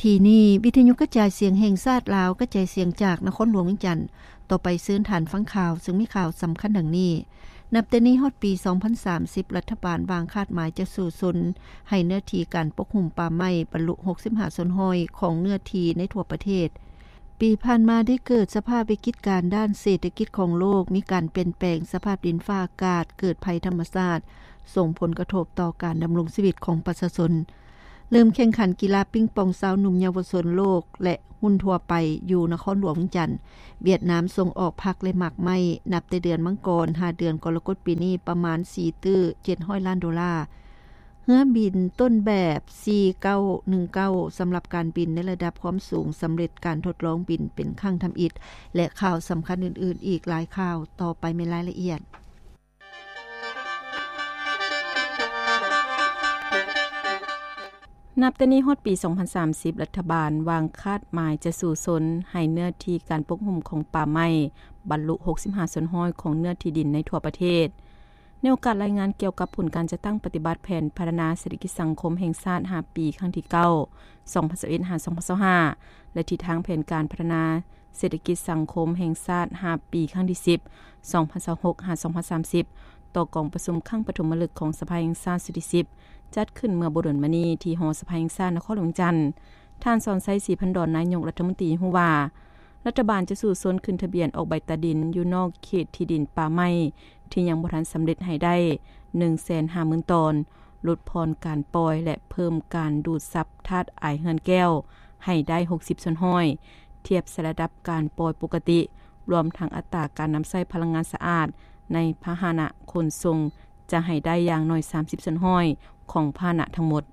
ທີ່ນີ້ ວິທະຍຸກະຈາຍສຽງແຫ່ງຊາດລາວ ກະຈາຍສຽງຈາກນະຄອນຫຼວງວຽງຈັນ. ຕໍ່ໄປເຊີນທ່ານຟັງຂ່າວ ເຊິ່ງມີຂ່າວສຳຄັນດັ່ງນີ້. ນັບແຕ່ນີ້ຮອດປີສອງພັນສາມສິບ ລັດຖະບານວາງຄາດໝາຍຈະສູ້ຊົນໃຫ້ເນື້ອທີ່ການປົກຫຸ້ມປ່າໄມ້ບັນລຸຫົກສິບຫ້າສ່ວນຮ້ອຍຂອງເນື້ອທີ່ໃນທົ່ວປະເທດ. ປີຜ່ານມາໄດ້ເກີດສະພາບວິກິດການດ້ານເສດຖະກິດຂອງໂລກ, ມີການປ່ຽນແປງສະພາບດິນຟ້າອາກາດ, ເກີດໄພທຳມະຊາດ, ສົ່ງຜົນກະທົບຕໍ່ການດຳລົງຊີວິດຂອງປະຊາຊົນ. ເລີ່ມແຂ່ງຂັນກິລາປິງປອງຊາວໜຸ່ມເຍົາວະຊົນໂລກ ແລະ ຮຸ່ນທົ່ວໄປຢູ່ນະຄອນຫຼວງວຽງຈັນ. ຫວຽດນາມສົ່ງອອກຜັກ ແລະ ໝາກໄມ້ ນັບແຕ່ເດືອນມັງກອນຫາເດືອນກໍລະກົດປີນີ້ປະມານສີ່ຕື້ເຈັດຮ້ອຍລ້ານໂດລາ. ເຮືອບິນຕົ້ນແບບສີ່ເກົ້າໜຶ່ງເກົ້າ ສຳລັບການບິນໃນລະດັບຄວາມສູງ ສຳເລັດການທົດລອງບິນເປັນຄັ້ງທຳອິດ ແລະ ຂ່າວສຳຄັນອື່ນໆອີກຫຼາຍຂ່າວ. ຕໍ່ໄປແມ່ນລາຍລະອຽດ. ນັບແຕ່ນີ້ຮອດປີສອງພັນສາມສິບ ລັດຖະບານວາງຄາດໝາຍຈະສູ້ຊົນໃຫ້ເນື້ອທີ່ການປົກຫຸ້ມຂອງປ່າໄມ້ບັນລຸຫົກສິບຫ້າສ່ວນຮ້ອຍຂອງເນື້ອທີ່ດິນໃນທົ່ວປະເທດ. ໃນໂອກາດລາຍງານກ່ຽວກັບຜົນການຈັດຕັ້ງປະຕິບັດແຜນພັດທະນາເສດຖະກິດສັງຄົມແຫ່ງຊາດຫ້າປີ ຄັ້ງທີເກົ້າ ສອງພັນຊາວເອັດ ຫາ ສອງພັນຊາວຫ້າ ແລະ ທິດທາງແຜນການພັດທະນາເສດຖະກິດສັງຄົມແຫ່ງຊາດຫ້າປີ ຄັ້ງທີສິບ ສອງພັນຊາວຫົກ ຫາ ສອງພັນສາມສິບ ຕໍ່ກອງປະຊຸມຄັ້ງປະຖົມມະລຶກຂອງສະພາແຫ່ງຊາດຊຸດທີສິບ ຈັດຂຶ້ນເມື່ອບໍ່ດົນມານີ້ທີ່ຫໍສະພາແຫ່ງຊາດນະຄອນຫຼວງວຽງຈັນ. ທ່ານ ສອນໄຊ ສີພັນດອນ ນາຍົກລັດຖະມົນຕີ ຮູ້ວ່າ ລັດຖະບານຈະສູ້ຊົນຂຶ້ນທະບຽນອອກໃບຕາດິນຢູ່ນອກເຂດທີ່ດິນປ່າໄມ້ທີ່ຍັງບໍ່ທັນສຳເລັດໃຫ້ໄດ້ໜຶ່ງແສນຫ້າໝື່ນຕອນ, ຫຼຸດຜ່ອນການປ່ອຍ ແລະ ເພີ່ມການດູດຊັບທາດອາຍເຮືອນແກ້ວໃຫ້ໄດ້ຫົກສິບສ່ວນຮ້ອຍ ທຽບໃສ່ລະດັບການປ່ອຍປົກກະຕິ, ລວມທັງອັດຕາການນຳໃຊ້ພະລັງງານສະອາດໃນພາຫະນະຂົນສົ່ງ ຈະໃຫ້ໄດ້ຢ່າງໜ້ອຍສາມສິບສ່ວນຮ້ອຍຂອງພາຫະນະທັງໝົດ.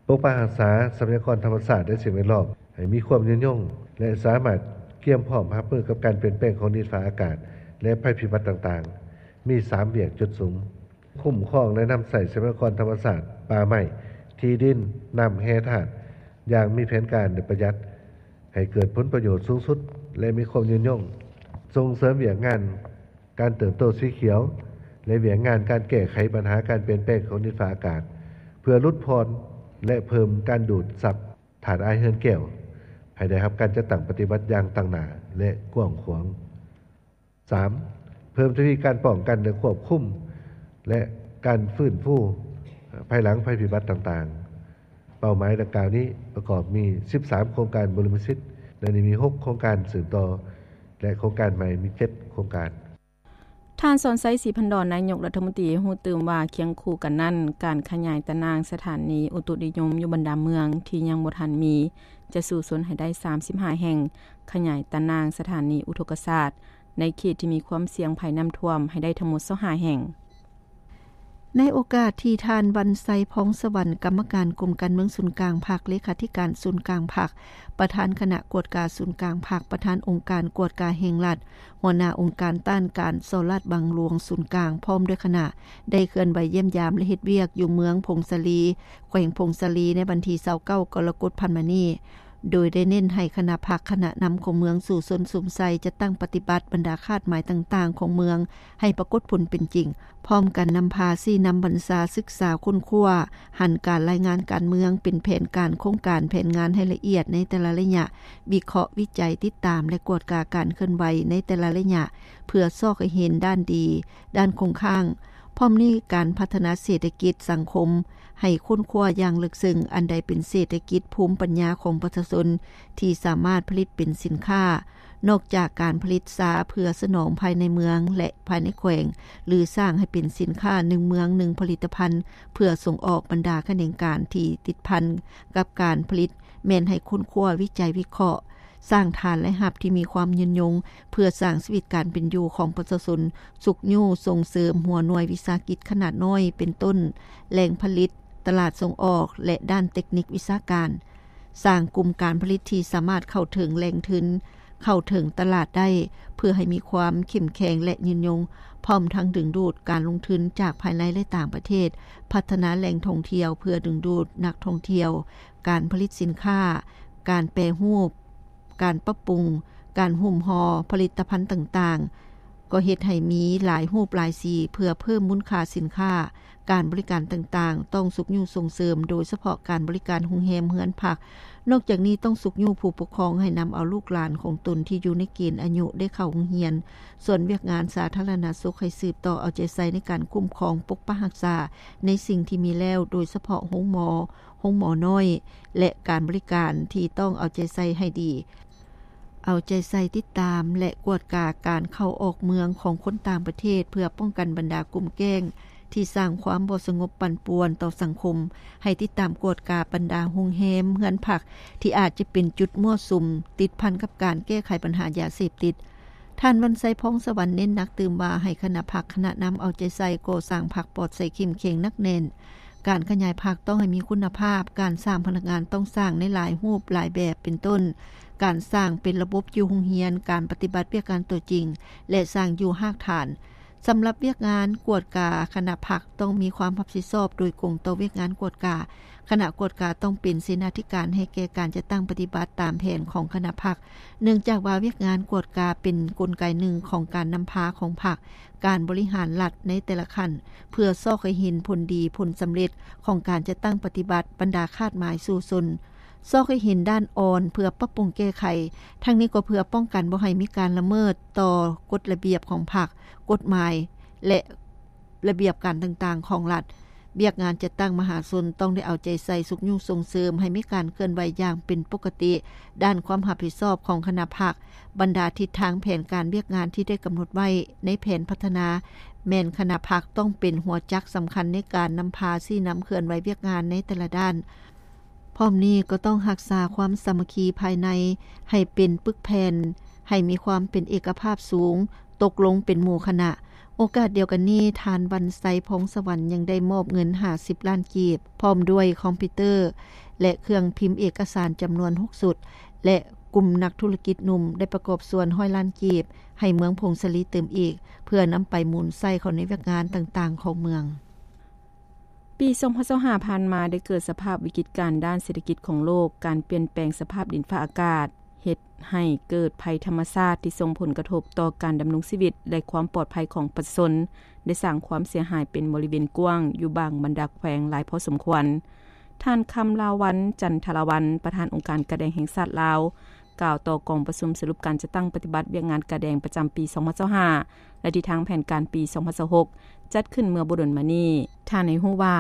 ປົກປັກຮັກສາຊັບພະຍາກອນທຳມະຊາດ ແລະ ສິ່ງແວດລ້ອມໃຫ້ມີຄວາມຍືນຍົງ ແລະ ສາມາດກຽມພ້ອມຮັບມືກັບການປ່ຽນແປງຂອງດິນຟ້າອາກາດ ແລະ ໄພພິບັດຕ່າງໆ. ມີສາມວຽກຈຸດສຸມ: ຄຸ້ມຄອງ ແລະ ນຳໃຊ້ຊັບພະຍາກອນທຳມະຊາດ, ປ່າໄມ້, ທີ່ດິນ, ນ້ຳ, ແຮ່ທາດ ຢ່າງມີແຜນການ ແລະ ປະຢັດ ໃຫ້ເກີດຜົນປະໂຫຍດສູງສຸດ ແລະ ມີຄວາມຍືນຍົງ, ສົ່ງເສີມວຽກງານ ການເຕີບໂຕສີຂຽວ ແລະ ວຽກງານການແກ້ໄຂບັນຫາການປ່ຽນແປງຂອງດິນຟ້າອາກາດ ເພື່ອຫຼຸດຜ່ອນ ແລະ ເພີ່ມການດູດຊັບທາດອາຍເຮືອນແກ້ວ ໃຫ້ໄດ້ຮັບການຈັດຕັ້ງປະຕິບັດຢ່າງຕັ້ງໜ້າ ແລະ ກວ້າງຂວາງ. ສາມ, ເພີ່ມທະວີການປ້ອງກັນ ແລະ ຄວບຄຸມ ແລະ ການຟື້ນຟູພາຍຫຼັງໄພພິບັດຕ່າງໆ. ເປົ້າໝາຍດັ່ງກ່າວນີ້ປະກອບມີສິບສາມໂຄງການບູລິມະສິດ, ໃນນີ້ມີຫົກໂຄງການສືບຕໍ່ ແລະ ໂຄງການໃໝ່ມີເຈັດໂຄງການ. ທ່ານ ສອນໄຊ ສີພັນດອນ ນາຍົກລັດຖະມົນຕີ ຮູ້ຕື່ມວ່າ ຄຽງຄູ່ກັນນັ້ນ, ການຂະຫຍາຍຕາໜ່າງສະຖານີອຸຕຸນິຍົມຢູ່ບັນດາເມືອງທີ່ຍັງບໍ່ທັນມີ ຈະສູ້ຊົນໃຫ້ໄດ້ສາມສິບຫ້າແຫ່ງ, ຂະຫຍາຍຕາໜ່າງສະຖານີອຸທົກກະສາດໃນເຂດທີ່ມີຄວາມສ່ຽງໄພນ້ຳຖ້ວມໃຫ້ໄດ້ທັງໝົດຊາວຫ້າແຫ່ງ. ໃນໂອກາດທີ່ທ່ານ ວັນໄຊ ພອງສະຫວັນ ກຳມະການກົມການເມືອງສູນກາງພັກ, ເລຂາທິການສູນກາງພັກ, ປະທານຄະນະກວດກາສູນກາງພັກ, ປະທານອົງການກວດກາແຫ່ງລັດ, ຫົວໜ້າອົງການຕ້ານການສໍ້ລາດບັງຫຼວງສູນກາງ ພ້ອມດ້ວຍຄະນະ ໄດ້ເຄື່ອນໄຫວຢ້ຽມຢາມ ແລະ ເຮັດວຽກຢູ່ເມືອງຜົ້ງສາລີ, ແຂວງຜົ້ງສາລີ ໃນວັນທີຊາວເກົ້າ ກໍລະກົດຜ່ານມານີ້. ໂດຍໄດ້ເນັ້ນໃຫ້ຄະນະພັກ, ຄະນະນຳຂອງເມືອງສູ້ຊົນສຸມໃສ່ ຈັດຕັ້ງປະຕິບັດບັນດາຄາດໝາຍຕ່າງໆຂອງເມືອງໃຫ້ປາກົດຜົນເປັນຈິງ, ພ້ອມກັນນຳພາຊີ້ນຳບັນຊາ, ສຶກສາ, ຄົ້ນຄວ້າ, ຫັນການລາຍງານການເມືອງເປັນແຜນການ, ໂຄງການ, ແຜນງານໃຫ້ລະອຽດໃນແຕ່ລະໄລຍະ, ວິເຄາະ, ວິໄຈ, ຕິດຕາມ ແລະ ກວດກາການເຄື່ອນໄຫວໃນແຕ່ລະໄລຍະ ເພື່ອຊອກໃຫ້ເຫັນດ້ານດີ, ດ້ານຄົງຄ້າງ. ພ້ອມນີ້, ການພັດທະນາເສດຖະກິດສັງຄົມ ໃຫ້ຄົ້ນຄວ້າຢ່າງເລິກເຊິ່ງ ອັນໃດເປັນເສດຖະກິດພູມປັນຍາຂອງປະຊາຊົນທີ່ສາມາດຜະລິດເປັນສິນຄ້າ, ນອກຈາກການຜະລິດຊາເພື່ອສະໜອງພາຍໃນເມືອງ ແລະ ພາຍໃນແຂວງ ຫຼື ສ້າງໃຫ້ເປັນສິນຄ້າໜຶ່ງເມືອງໜຶ່ງຜະລິດຕະພັນ ເພື່ອສົ່ງອອກ, ບັນດາຂະແໜງການທີ່ຕິດພັນກັບການຜະລິດ ແມ່ນໃຫ້ຄົ້ນຄວ້າ, ວິໄຈ, ວິເຄາະ, ສ້າງຖານລາຍຮັບທີ່ມີຄວາມຍືນຍົງ ເພື່ອສ້າງຊີວິດການເປັນຢູ່ຂອງປະຊາຊົນ, ຊຸກຍູ້ສົ່ງເສີມຫົວໜ່ວຍວິສາຫະກິດຂະໜາດນ້ອຍ ເປັນຕົ້ນ ແຫຼ່ງຜະລິດ, ຕະຫຼາດສົ່ງອອກ ແລະ ດ້ານເຕັກນິກວິຊາການ, ສ້າງກຸ່ມການຜະລິດທີ່ສາມາດເຂົ້າເຖິງແຫຼ່ງທຶນ, ເຂົ້າເຖິງຕະຫຼາດໄດ້ ເພື່ອໃຫ້ມີຄວາມເຂັ້ມແຂງ ແລະ ຍືນຍົງ, ພ້ອມທັງດຶງດູດການລົງທຶນຈາກພາຍໃນ ແລະ ຕ່າງປະເທດ, ພັດທະນາແຫຼ່ງທ່ອງທ່ຽວເພື່ອດຶງດູດນັກທ່ອງທ່ຽວ, ການຜະລິດສິນຄ້າ, ການແປຮູບ, ການປັບປຸງ, ການຫຸ້ມຫໍ່ຜະລິດຕະພັນຕ່າງໆ ກໍເຮັດໃຫ້ມີຫຼາຍຮູບຫຼາຍສີເພື່ອເພີ່ມມູນຄ່າສິນຄ້າ, ການບໍລິການຕ່າງໆ ຕ້ອງຊຸກຍູ້ສົ່ງເສີມ, ໂດຍສະເພາະການບໍລິການໂຮງແຮມເຮືອນພັກ. ນອກຈາກນີ້ຕ້ອງຊຸກຍູ້ຜູ້ປົກຄອງໃຫ້ນຳເອົາລູກຫຼານຂອງຕົນທີ່ຢູ່ໃນເກນອາຍຸໄດ້ເຂົ້າໂຮງຮຽນ. ສ່ວນວຽກງານສາທາລະນະສຸກໃຫ້ສືບຕໍ່ເອົາໃຈໃສ່ໃນການຄຸ້ມຄອງປົກປັກຮັກສາໃນສິ່ງທີ່ມີແລ້ວ, ໂດຍສະເພາະໂຮງໝໍ, ໂຮງໝໍນ້ອຍ ແລະ ການບໍລິການທີ່ຕ້ອງເອົາໃຈໃສ່ໃຫ້ດີ. ເອົາໃຈໃສ່ຕິດຕາມ ແລະ ກວດກາການເຂົ້າອອກເມືອງຂອງຄົນຕ່າງປະເທດ ເພື່ອປ້ອງກັນບັນດາກຸ່ມແກ້ງທີ່ສ້າງຄວາມບໍ່ສະຫງົບປັ່ນປ່ວນຕໍ່ສັງຄົມ, ໃຫ້ຕິດຕາມກວດກາບັນດາໂຮງແຮມ, ເຮືອນພັກ ທີ່ອາດຈະເປັນຈຸດມົ້ວສຸມ ຕິດພັນກັບການແກ້ໄຂບັນຫາຢາເສບຕິດ. ທ່ານ ວັນໄຊ ພອງສະຫວັນ ເນັ້ນໜັກຕື່ມວ່າ ໃຫ້ຄະນະພັກ, ຄະນະນຳເອົາໃຈໃສ່ກໍ່ສ້າງພັກປອດໃສເຂັ້ມແຂງໜັກແໜ້ນ. ການຂະຫຍາຍພັກຕ້ອງໃຫ້ມີຄຸນນະພາບ, ການສ້າງພະນັກງານຕ້ອງສ້າງໃນຫຼາຍຮູບຫຼາຍແບບ ເປັນຕົ້ນ ການສ້າງເປັນລະບົບຢູ່ໂຮງຮຽນ, ການປະຕິບັດວຽກງານຕົວຈິງ ແລະ ສ້າງຢູ່ຮາກຖານ. ສຳລັບວຽກງານກວດກາຄະນະພັກຕ້ອງມີຄວາມຮັບຜິດຊອບໂດຍກົງຕໍ່ວຽກງານກວດກາ. ຄະນະກວດກາຕ້ອງເປັນເສນາທິການໃຫ້ແກ່ການຈັດຕັ້ງປະຕິບັດຕາມແຜນຂອງຄະນະພັກ, ເນື່ອງຈາກວ່າວຽກງານກວດກາເປັນກົນໄກໜຶ່ງຂອງການນຳພາຂອງພັກ, ການບໍລິຫານລັດໃນແຕ່ລະຂັ້ນ ເພື່ອຊອກໃຫ້ເຫັນຜົນດີ, ຜົນສຳເລັດຂອງການຈັດຕັ້ງປະຕິບັດບັນດາຄາດໝາຍສູ້ຊົນ, ຊອກໃຫ້ເຫັນດ້ານອ່ອນເພື່ອປັບປຸງແກ້ໄຂ, ທັງນີ້ກໍເພື່ອປ້ອງກັນບໍ່ໃຫ້ມີການລະເມີດຕໍ່ກົດລະບຽບຂອງພັກ, ກົດໝາຍ ແລະ ລະບຽບການຕ່າງໆຂອງລັດ. ວຽກງານຈັດຕັ້ງມະຫາຊົນຕ້ອງໄດ້ເອົາໃຈໃສ່ຊຸກຍູ້ສົ່ງເສີມໃຫ້ມີການເຄື່ອນໄຫວຢ່າງເປັນປົກກະຕິ. ດ້ານຄວາມຮັບຜິດຊອບຂອງຄະນະພັກ, ບັນດາທິດທາງແຜນການວຽກງານທີ່ໄດ້ກຳນົດໄວ້ໃນແຜນພັດທະນາ, ແມ່ນຄະນະພັກຕ້ອງເປັນຫົວຈັກສຳຄັນໃນການນຳພາຊີ້ນຳເຄື່ອນໄຫວວຽກງານໃນແຕ່ລະດ້ານ. ພ້ອມນີ້ກໍຕ້ອງຮັກສາຄວາມສາມັກຄີພາຍໃນໃຫ້ເປັນປຶກແຜ່ນ, ໃຫ້ມີຄວາມເປັນເອກະພາບສູງ, ຕົກລົງເປັນໝູ່ຄະນະ. ໂອກາດດຽວກັນນີ້, ທ່ານ ວັນໄຊ ພອງສະຫວັນ ຍັງໄດ້ມອບເງິນຫ້າສິບລ້ານກີບ, ພ້ອມດ້ວຍຄອມພິວເຕີ ແລະ ເຄື່ອງພິມເອກະສານຈຳນວນຫົກຊຸດ ແລະ ກຸ່ມນັກທຸລະກິດໜຸ່ມໄດ້ປະກອບສ່ວນຮ້ອຍລ້ານກີບ ໃຫ້ເມືອງຜົ້ງສາລີເຕີມອີກ, ເພື່ອນຳໄປໝູນໃຊ້ເຂົ້າໃນວຽກງານຕ່າງໆຂອງເມືອງ. ປີສອງພັນຊາວຫ້າຜ່ານມາໄດ້ເກີດສະພາບວິກິດການດ້ານເສດຖະກິດຂອງໂລກ, ການປ່ຽນແປງສະພາບດິນຟ້າອາກາດ ເຮັດໃຫ້ເກີດໄພທຳມະຊາດທີ່ສົ່ງຜົນກະທົບຕໍ່ການດຳລົງຊີວິດ ແລະ ຄວາມປອດໄພຂອງປະຊາຊົນ, ໄດ້ສ້າງຄວາມເສຍຫາຍເປັນບໍລິເວນກວ້າງຢູ່ບາງບັນດາແຂວງຫຼາຍພໍສົມຄວນ. ທ່ານ ຄຳລາວັນ ຈັນທະລາວັນ ປະທານອົງການກາແດງແຫ່ງຊາດລາວ ກ່າວຕໍ່ກອງປະຊຸມສະຫຼຸບການຈັດຕັ້ງປະຕິບັດວຽກງານກາແດງປະຈຳປີສອງພັນຊາວຫ້າ ແລະ ທິດທາງແຜນການປີສອງພັນຊາວຫົກ ຈັດຂຶ້ນເມື່ອບໍ່ດົນມານີ້. ທ່ານໃຫ້ຮູ້ວ່າ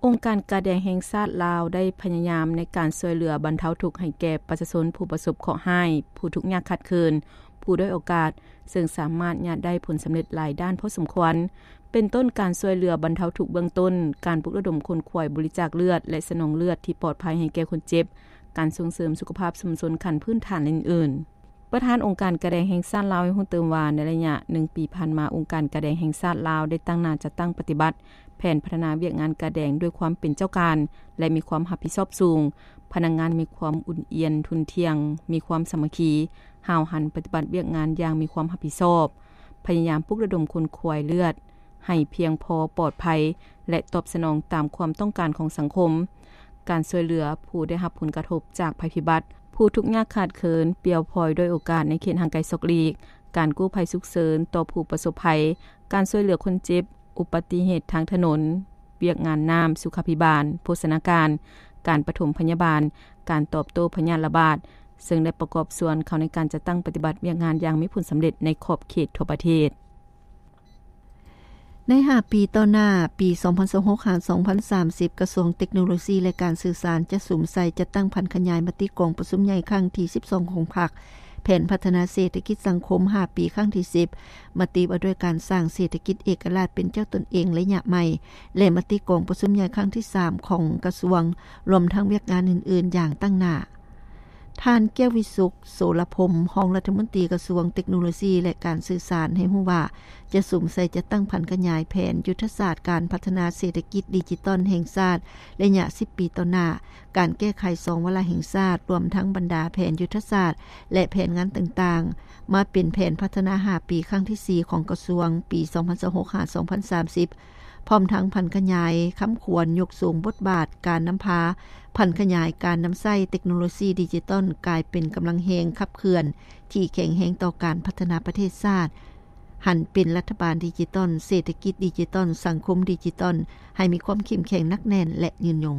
ອົງການກາແດງແຫ່ງຊາດລາວໄດ້ພະຍາຍາມໃນການຊ່ວຍເຫຼືອບັນເທົາທຸກໃຫ້ແກ່ປະຊາຊົນຜູ້ປະສົບເຄາະຮ້າຍ, ຜູ້ທຸກຍາກຂາດເຂີນ, ຜູ້ດ້ອຍໂອກາດ, ເຊິ່ງສາມາດຍາດໄດ້ຜົນສຳເລັດຫຼາຍດ້ານພໍສົມຄວນ, ເປັນຕົ້ນການຊ່ວຍເຫຼືອບັນເທົາທຸກເບື້ອງຕົ້ນ, ການປຸກລະດົມຂົນຂວາຍບໍລິຈາກເລືອດ ແລະ ສະໜອງເລືອດທີ່ປອດໄພໃຫ້ແກ່ຄົນເຈັບ, ການສົ່ງເສີມສຸຂະພາບຊຸມຊົນຂັ້ນພື້ນຖານ ແລະ ອື່ນໆ. ປະທານອົງການກາແດງແຫ່ງຊາດລາວໃຫ້ຮູ້ຕື່ມວ່າ ໃນໄລຍະໜຶ່ງປີຜ່ານມາ, ອົງການກາແດງແຫ່ງຊາດລາວໄດ້ຕັ້ງໜ້າຈັດຕັ້ງປະຕິບັດແຜນພັດທະນາວຽກງານກາແດງດ້ວຍຄວາມເປັນເຈົ້າການ ແລະ ມີຄວາມຮັບຜິດຊອບສູງ. ພະນັກງານມີຄວາມອຸ່ນອຽນທຸ່ນທ່ຽງ, ມີຄວາມສາມັກຄີ, ຫ້າວຫັນປະຕິບັດວຽກງານຢ່າງມີຄວາມຮັບຜິດຊອບ, ພະຍາຍາມປຸກລະດົມຂົນຂວາຍເລືອດ ໃຫ້ພຽງພໍ, ປອດໄພ ແລະ ຕອບສະໜອງຕາມຄວາມຕ້ອງການຂອງສັງຄົມ, ການຊ່ວຍເຫຼືອຜູ້ໄດ້ຮັບຜົນກະທົບຈາກໄພພິບັດ, ຜູ້ທຸກຍາກຂາດເຂີນ, ປ່ຽວພອຍດ້ອຍໂອກາດໃນເຂດຫ່າງໄກສອກຫຼີກ, ການກູ້ໄພສຸກເສີນຕໍ່ຜູ້ປະສົບໄພ, ການຊ່ວຍເຫຼືອຄົນເຈັບ, ອຸບັດຕິເຫດທາງຖະໜົນ, ວຽກງານນ້ຳ, ສຸຂາພິບານ, ໂພຊະນາການ, ການປະຖົມພະຍາບານ, ການຕອບໂຕ້ພະຍາດລະບາດ, ເຊິ່ງໄດ້ປະກອບສ່ວນເຂົ້າໃນການຈັດຕັ້ງປະຕິບັດວຽກງານຢ່າງມີຜົນສຳເລັດໃນຂອບເຂດທົ່ວປະເທດ. ໃນຫ້າປີຕໍ່ໜ້າ, ປີສອງພັນຊາວຫົກ ຫາ ສອງພັນສາມສິບ, ກະຊວງເຕັກໂນໂລຊີ ແລະ ການສື່ສານ ຈະສຸມໃສ່ຈັດຕັ້ງຜັນຂະຫຍາຍມະຕິກອງປະຊຸມໃຫຍ່ຄັ້ງທີສິບສອງຂອງພັກ, ແຜນພັດທະນາເສດຖະກິດສັງຄົມຫ້າປີຄັ້ງທີສິບ, ມະຕິວ່າດ້ວຍການສ້າງເສດຖະກິດເອກະລາດເປັນເຈົ້າຕົນເອງໄລຍະໃໝ່ ແລະ ມະຕິກອງປະຊຸມໃຫຍ່ຄັ້ງທີສາມຂອງກະຊວງ, ລວມທັງວຽກງານອື່ນໆຢ່າງຕັ້ງໜ້າ. ທ່ານ ແກ້ວວິສຸກ ໂສລະພົມ ຮອງລັດຖະມົນຕີກະຊວງເຕັກໂນໂລຊີ ແລະ ການສື່ສານ ໃຫ້ຮູ້ວ່າ ຈະສຸມໃສ່ຈັດຕັ້ງຜັນຂະຫຍາຍແຜນຍຸດທະສາດການພັດທະນາເສດຖະກິດດິຈິຕອນແຫ່ງຊາດໄລຍະສິບປີຕໍ່ໜ້າ, ການແກ້ໄຂສອງວາລະແຫ່ງຊາດ, ລວມທັງບັນດາແຜນຍຸດທະສາດ ແລະ ແຜນງານຕ່າງໆ ມາເປັນແຜນພັດທະນາຫ້າປີຄັ້ງທີສີ່ຂອງກະຊວງ ປີສອງພັນຊາວຫົກ ຫາ ສອງພັນສາມສິບ ພ້ອມທັງຜັນຂະຫຍາຍຄຳຂວັນຍົກສູງບົດບາດການນຳພາ, ຜັນຂະຫຍາຍການນຳໃຊ້ເຕັກໂນໂລຊີດິຈິຕອນກາຍເປັນກຳລັງແຮງຂັບເຄື່ອນທີ່ແຂງແຮງຕໍ່ການພັດທະນາປະເທດຊາດ. ຫັນເປັນລັດຖະບານດິຈິຕອນ, ເສດຖະກິດດິຈິຕອນ, ສັງຄົມດິຈິຕອນ ໃຫ້ມີຄວາມເຂັ້ມແຂງໜັກແໜ້ນ ແລະ ຍືນຍົງ.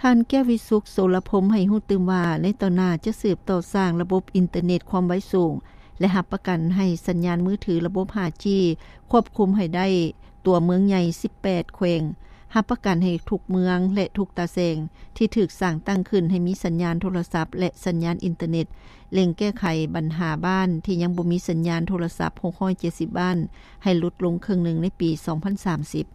ທ່ານ ແກ້ວວິສຸກ ໂສລະພົມ ໃຫ້ຮູ້ຕື່ມວ່າ ໃນຕໍ່ໜ້າຈະສືບຕໍ່ສ້າງລະບົບອິນເຕີເນັດຄວາມໄວສູງ ແລະ ຮັບປະກັນໃຫ້ສັນຍານມືຖືລະບົບ ຫ້າຈີ ຄວບຄຸມໃຫ້ໄດ້ຕົວເມືອງໃຫຍ່ ສິບແປດແຂວງ, ຮັບປະກັນໃຫ້ທຸກເມືອງ ແລະ ທຸກຕາແສງທີ່ຖືກສ້າງຕັ້ງຂຶ້ນໃຫ້ມີສັນຍານໂທລະສັບ ແລະ ສັນຍານອິນເຕີເນັດ, ເລັ່ງແກ້ໄຂບັນຫາບ້ານທີ່ຍັງບໍ່ມີສັນຍານໂທລະສັບ ຫົກຮ້ອຍເຈັດສິບບ້ານ ໃຫ້ຫຼຸດລົງເຄິ່ງໜຶ່ງໃນປີສອງພັນສາມສິບ.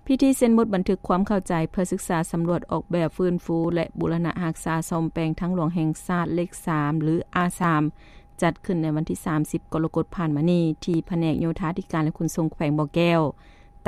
ພິທີເຊັນບົດບັນທຶກຄວາມເຂົ້າໃຈເພື່ອສຶກສາສຳຫຼວດອອກແບບ, ຟື້ນຟູ ແລະ ບູລະນະຮັກສາສ້ອມແປງທາງຫຼວງແຫ່ງຊາດເລກສາມ ຫຼື ອາສາມ ຈັດຂຶ້ນໃນວັນທີສາມສິບ ກໍລະກົດຜ່ານມານີ້ ທີ່ພະແນກໂຍທາທິການ ແລະ ຂົນສົ່ງແຂວງບໍ່ແກ້ວ.